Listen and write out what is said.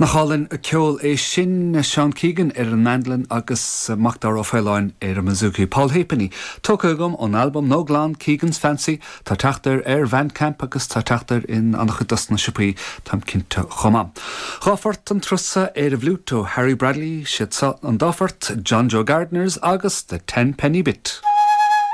Nach álainn an ceol é sin, Seán Keegan ar an mandolin agus Macdara Ó Faoláin ar an mbouzouki. Paul Halfpenny tógtha agam ón albam nó glan Keegan's Fancy. Tá teacht air ar Bhandcamp agus tá teacht air in an-chuid dos na siopaí, táim cinnte chomh maith. Dhá phort an turas seo ar an bhfliúit ó Harry Bradley, siad seo an dá phort, John Joe Gardiners agus The Tenpenny Bit.